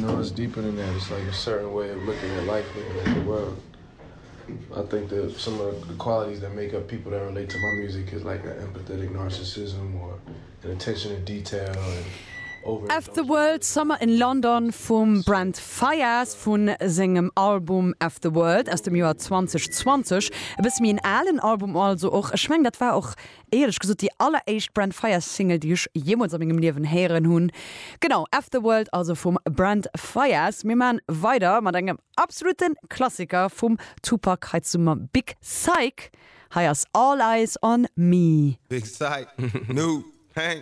know, it's deeper than that. It's like a certain way of looking at life, looking at the world. I think that some of the qualities that make up people that relate to my music is like an empathetic narcissism or an attention to detail and F the World, Summer in London vum Brent Faiyaz vu sengem Album F the World aus dem Joer 2020. E bësse méi en alen Album also och. Ech mengen dat war och éierlech gesot déi alleréischt Brent Faiyaz Single déi ech jeemools a mengem Liewen héieren hunn. Genau, F the World also vum Brent Faiyaz. Mir maan weider mat engem absoluten Klassiker vum Tupac hei zum Big Syke. Hei ass All Eyes on Me. Big Syke, New Pain.